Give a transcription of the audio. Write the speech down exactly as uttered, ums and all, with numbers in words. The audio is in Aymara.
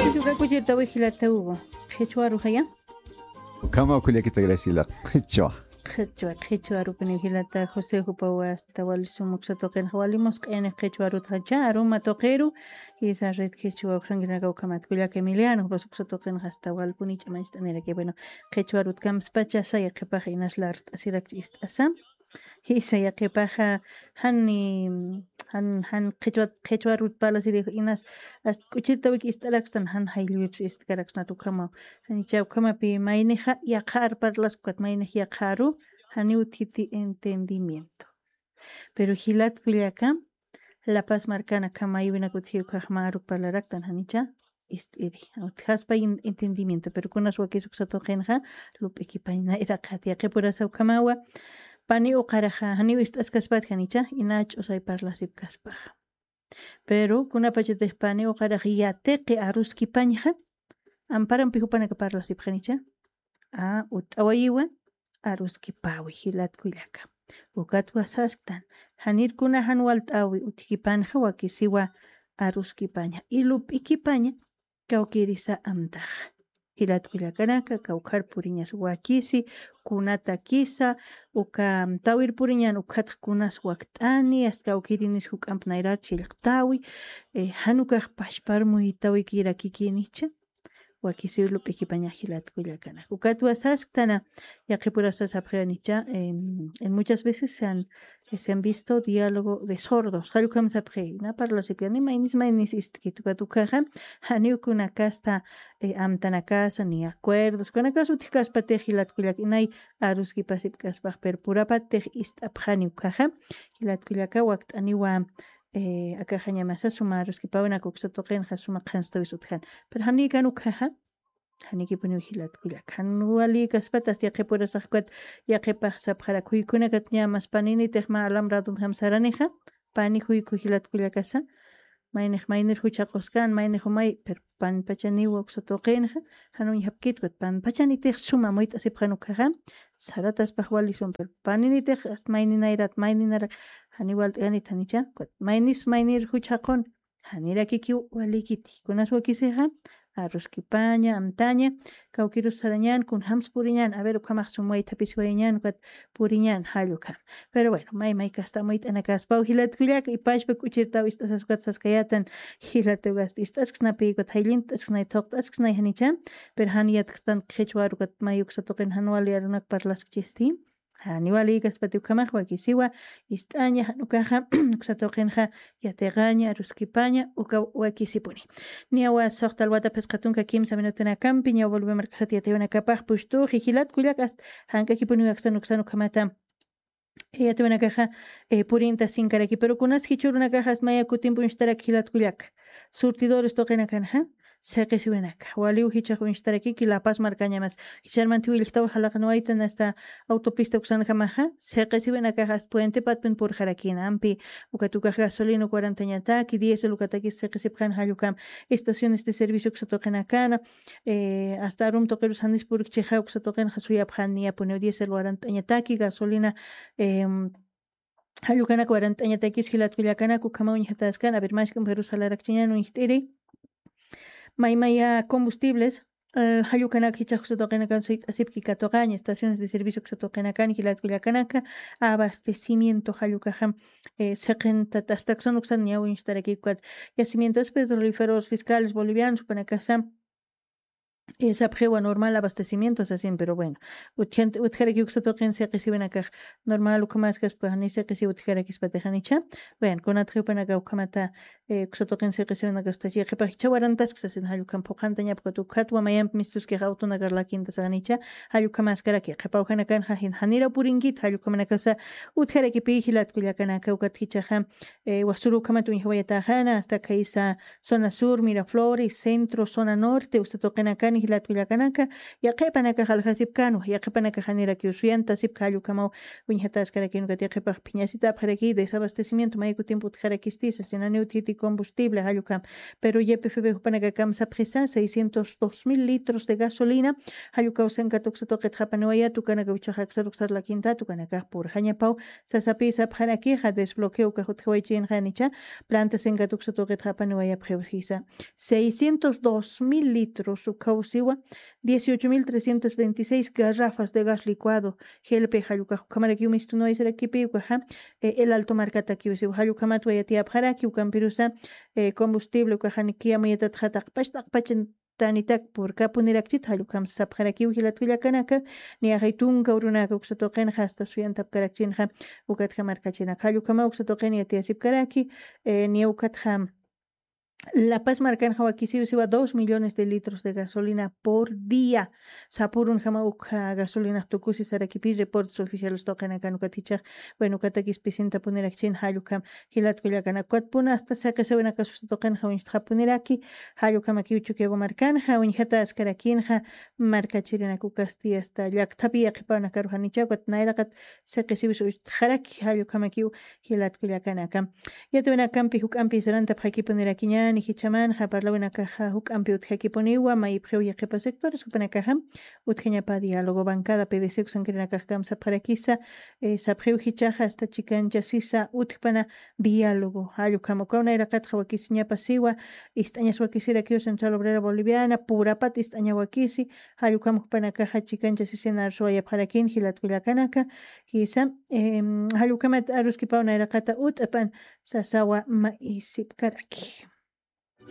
Kuchirtawi jilata Hugo. Qhichwa arujaya. Ukhama kullakita Graciela. Qhichwa. Qhichwa, qhichwa arupini jilata José, jupawa asta wali sum uksa tuqinxa wali musq'ini qhichwa arutxa cha aruma tuqiru. Isa red qhichwa uksankirinaka ukhamat kullaka Emiliano, jupas uksa tuqinxa asta walpuni ch'amañcht'aniraki. Bueno, qhichwa arut kamspacha saya qhipaxa inas lart'asirakchi ist'asa. Jisa, yaqhipaxa jan, jan, jan qhichwa, qhichwa arut parlasiri inas, hasta k'uchirtawik ist'arakstan, jan jayllwipsa ist'karaksnat ukhamaw. Janicha ukhamapi maynixa yaqha ar parlaskukat, maynix yaqha aru, janiw utjiti entendimiento. Pero jilat kullaka, La Paz markanaka maywinak utji ukhax mä aruk parlaraktan, janicha ist'iri. Utjaspa in-, entendimiento, pero kunas wakis uksa tuqinxa, lup'ikipañ nayraqat yaqhipurasa ukhamawa, pani uqaraxa, janiw ist'askaspat janicha, ina ch'usay parlasipkaspaxa. Pero kunapachatix pani uqarax yatiqi aruskipañxa, amparampi jupanaka parlasipxanicha, a, ut'awayiwa, aruskipawi jilat kullaka. Ukatwa sasktan, janir kuna jan walt'awi utjikipanxa wakisiwa aruskipaña. Y lup'ikipaña kawkirisa amtaxa. Jilat kullakanaka, kawkhar puriñas wakisi, kunatakisa, uka amtawir puriñan ukhatx kunas wakt'ani, as kawkirinis juk'amp nayrar chillqtawi, eh, jan ukax pachpar muyitawikirakikinicha. Wakisiw lup'ikipaña jilat kullakanaka. Ukatwa sasktana, yaqhipurasa sapxi janicha, em, en muchas veces se han, se han visto diálogo de sordos. Jall ukham sapxi, na parlasipkani, maynis, maynis ist'kit ukat ukhaxa, janiw kunakasta, eh, amtanakasa, ni acuerdos. Kunakas utjkaspatix jilat kullak, inay aruskipasipkaspax, pero purapatix ist'apxani ukhaxa, jilat kullaka wakt'aniwa, eh, akaxañamasa suma aruskipäwinaka uksa tuqinxa suma qhanstawis utjan. Pero janikan ukhaxa, janikipuniw jilat kullak. Jan wali kaspatas yaqhipurasax ukat yaqhipax sapxarak, juykunakatña mas paninitix mä alamradunjam saranixa, pani juyku jilat kullakasa, maynix maynir juchaquskan, maynix umay, pero panpachaniw uksa tuqinxa, jan uñjapkit ukat panpachanitix suma muyt'asipxan ukhaxa, sarataspax wali sum, pero paninitix hasta mayninayrat, mayninarak, jani walt'kanit janicha, ukat maynis maynir juchaqun, janirakikiw walikiti. Kunas wakisixa, aruskipaña, amtaña, kawkirus sarañan, kunjams puriñan, a ver, ukhamax sum waythapis wayañan, ukat puriñan, jall ukham. Pero bueno, may, may kasta muyt'anakaspaw jilat kullak, y pachpa k'uchirtaw ist'asas ukat saskayatan, jilat ukas ist'asksnapi, ukat jayllint'asksnay, thuqt'asksnay janicha, pero jan yatkstan qhichwa aru ukat may uksa tuqin jan wali arunak parlaskchisti. Jani wali kaspati ukhamax wakisiwa, ist'aña, jan ukaxa, uksa tuqinxa, yatiqaña, aruskipaña, uka wakisipuni. Niyawa suxta alwata phisqa tunka kimsa minutunakampi, niyawa Bolivia markasat yatiwinakapax pustuxi, jilat kullak hasta jank'akipuni wakstan uksan ukhamata. Yatiwinakaxa, eh, purinta sinkaraki, pero kunas jichhürunakaxa hasta maya kutimpi uñstarak jilat kullak. Surtidores tuqinakanxa, siqisiwinaka. Waliw jichhax uñstarakiki La Paz markañamas. Jichharmanti willktaw jalaqanwaytan hasta autopista uksanjamaxa, siqisiwinakaxa hasta puente patpin purxarakina. Ampi ukat ukax gasolina uk warantañataki, diésel ukatakis siqisipxan jall ukham. Estaciones de servicio uksa tuqinakana, eh, hasta arum tuqirus janis purkchixa uksa tuqinxa suyapxan niyapuniw diésel warantañataki, gasolina, em, jall ukanak warantañatakis jilat kullakanak ukhama uñjataskan, a ver, mask'am Jerusalén arakchiñan uñjt'iri. Maymaya combustibles, eh, jall ukanak jichhax uksa tuqinakan suyt'asipki katuqaña, estaciones de servicio uksa tuqinakan jilat kullakanaka, abastecimiento jall ukaxa, eh, siqintat astaksan uksan niyaw uñjt'araki ukat, yacimientos petrolíferos fiscales bolivianos jupanakasa, eh, sapxiwa normal abastecimiento sasin, pero bueno, utjant-, utjaraki uksa tuqin siqisiwinakax normal ukhamaskas, pues, ni siqisiw utjarakispatix janicha. Bueno, kunatxa jupanaka ukhamata, eh, uksa tuqin siqisiwinakasta, yaqhipax jichha warantask sasin, jall ukham phuqhantañapkut ukhatwa mayamp mistuskix autonakar lakinta saxanicha, jall ukhamaskaraki, qhipa ukhanakanxa jan-, janira purinkit, jall ukhamanakasa utjarakipi jilat kullakanaka ukat jichhaxa, eh, wasuru ukhamat uñjawayataxana, hasta khaysa zona sur, Miraflores, centro, zona norte, uksa tuqinakan, Jilat willakanaka, yaqhipanakax aljasipkanwa, yaqhipanakax janirakiw suyantasipka jallukamaw. Wiñjataskarakinukat yaqhipax phiñasitapxaraki desabastecimiento mayku tiempo utjaraki istisa sinaniw thiti combustible jallukam. Pero ypfb jupanakakamsapxisa seiscientos dos mil litros de gasolina. Jallukaw senkatuksatuqitxapaniwaya tukanakaw ichaxaksaruk sarlakinta tukanakax purxañapaw. Sasapisapxarakixa desbloqueo kajutjawaychinxanicha planta senkatuksatuqitxapaniwayapxiwsisa. Seiscientos dos mil litros ukawsiwa. Dieciocho mil trescientos veintiséis garrafas de gas licuado. Gelpe jallukax ukhamarakiw mistunwaysarakipiwkaxa. El alto markatakiwsiwa jallukamatwa yatiyapxaraki ukampirusa. Combustible ukaxanikiyamuyatatxataqpachtaqpachin tanitak purkapunirakchit jallukam sapxarakiw jilat willakanaka. Niyaxay tunka urunaka uksatuqinxa asta suyantapkarakchinxa. Ukatja markachinak jallukama uksatuqin yatiyasipkaraki. Niya ukatja lapas markanxa wakisiw siwa dos millones de litros de gasolina por día. Sapurun jama ukja gasolina tukusi sarakipi reportes oficiales tuqinakan ukatichax. Bueno ukatakis pisintapunirakchin jallukam. Jilat kullakana ukatpuna asta saqisawinakasusa tuqinxa wiñstxapuniraki. Jallukamakiw chukiagu markanxa wiñjataskarakinxa. Markachirinaku kasti asta llakthapi yaqhipawnakaruxanichaw ukat nayraqat saqisiwis uchtxaraki jallukamakiw. Jilat kullakanaka. Yatawinakampi juk'ampi sarantapxakipunirakiñani jichamanxa parlawinakaxa juk'ampi utjakipuniwa mayipxiw yaqhipa sectores jupanakaxa. Utjañapa diálogo bancada pdc uksankirinakaxkam sapxarakisa. Sapxiw jichaxa asta chikancha sisa utjpana diálogo jallukama ukaw nayraqatxa wakisiñapa siwa. Ist'añas wakisirakiw central obrera boliviana purapat ist'aña wakisi. Jallukama jupanakaxa chikancha sisina arsuwayapxarakin jilat kullakanaka. Jisa. Jallukamat aruskipaw nayraqata ut'pan sasawa ma'isipkaraki.